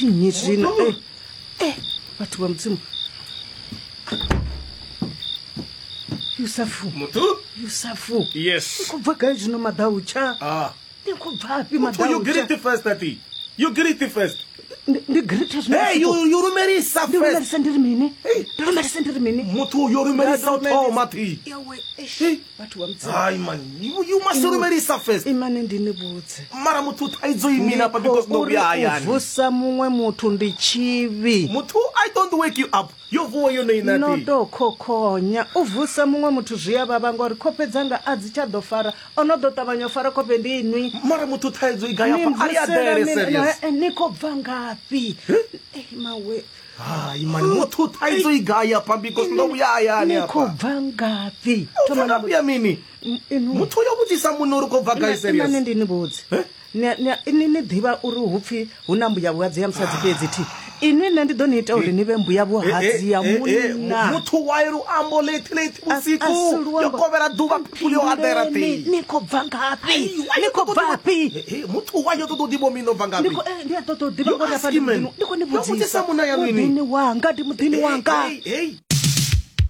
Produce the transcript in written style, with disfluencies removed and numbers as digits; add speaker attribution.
Speaker 1: Ndi nnyi zwino?
Speaker 2: Muthu.
Speaker 1: Eh, eh, vhathu vha Mudzimu. Yusafu.
Speaker 2: Muthu?
Speaker 1: Yusafu.
Speaker 2: Yes.
Speaker 1: Ni khou bva gai zwino maḓautsha?
Speaker 2: Ah.
Speaker 1: Ni khou bvafhi
Speaker 2: Muthu, you
Speaker 1: maḓautsha?
Speaker 2: greet first, ati. You greet first.
Speaker 1: Ndi greet zwino.
Speaker 2: Hey, you rumelisa
Speaker 1: Ndi
Speaker 2: first.
Speaker 1: lumelisa ndi ri mini?
Speaker 2: Hey.
Speaker 1: Ndi lumelisa ndi ri mini?
Speaker 2: Muthu, you rumelisa u thoma thi.
Speaker 1: Yawe, eish,
Speaker 2: Hey.
Speaker 1: vhathu vha Mudzimu.
Speaker 2: Hayi man, you must rumelisa first.
Speaker 1: Imani ndi ni vhudze.
Speaker 2: Mara muthu thaidzo imina apa because ndo
Speaker 1: Uri
Speaker 2: vhuya
Speaker 1: u
Speaker 2: hayani.
Speaker 1: vusa muṅwe muthu ndi tshivhi.
Speaker 2: Muthu, I don't wake you up. Yo vuwa yone ina
Speaker 1: No
Speaker 2: thi.
Speaker 1: to khokhonya u vusa muṅwe muthu zwi a vhavha ngori khofhe dzanga a dzi tsha ḓo fara o no ḓo ṱavhanya u fara khofhe ndi inwi.
Speaker 2: Mara muthu thaidzo i gai
Speaker 1: Ni
Speaker 2: apa? A ya
Speaker 1: mvusela
Speaker 2: dele
Speaker 1: mini?
Speaker 2: serious.
Speaker 1: Eh, ni khou bva ngafhi? Eh, mawe.
Speaker 2: Hayi man, muthu thaidzo i gai apa because ndo vhuya hayani
Speaker 1: Ni khou
Speaker 2: apa.
Speaker 1: bva ngafhi?
Speaker 2: U bva ngafhi ya mini?
Speaker 1: Inwi.
Speaker 2: Muthu yo vhudzisa muṋe uri u khou bva gai
Speaker 1: Imani
Speaker 2: serious.
Speaker 1: ndi ni vhudze. Ni ni ḓivha uri hu pfi hu na mbuya vhuhadzi ya musadzi fhedzi thi. Inwi nṋe ndi ḓo ni ita uri ni vhe mbuya vhuhadzi ya munna.
Speaker 2: Muthu wa luambo late late
Speaker 1: A- a si
Speaker 2: vhusiku
Speaker 1: luambo.
Speaker 2: yo kovhela ḓuvha people yo aḓela
Speaker 1: Mphinduleni,
Speaker 2: thi.
Speaker 1: Ni khou bva ngafhi? Ni khou bvafhi?
Speaker 2: Muthu wa yo ṱoḓa u ḓivha mini o bva
Speaker 1: Ndi
Speaker 2: ngafhi?
Speaker 1: khou eh, ndi a ṱoḓa u ḓivha
Speaker 2: You
Speaker 1: ngori afha
Speaker 2: ask
Speaker 1: ndi
Speaker 2: him, man.
Speaker 1: muḓini. Ndi khou ni
Speaker 2: Yo vhudzisa
Speaker 1: vhudzisa.
Speaker 2: munna ya nini?
Speaker 1: Muḓini wanga ndi muḓini wanga.
Speaker 2: Hey, hey.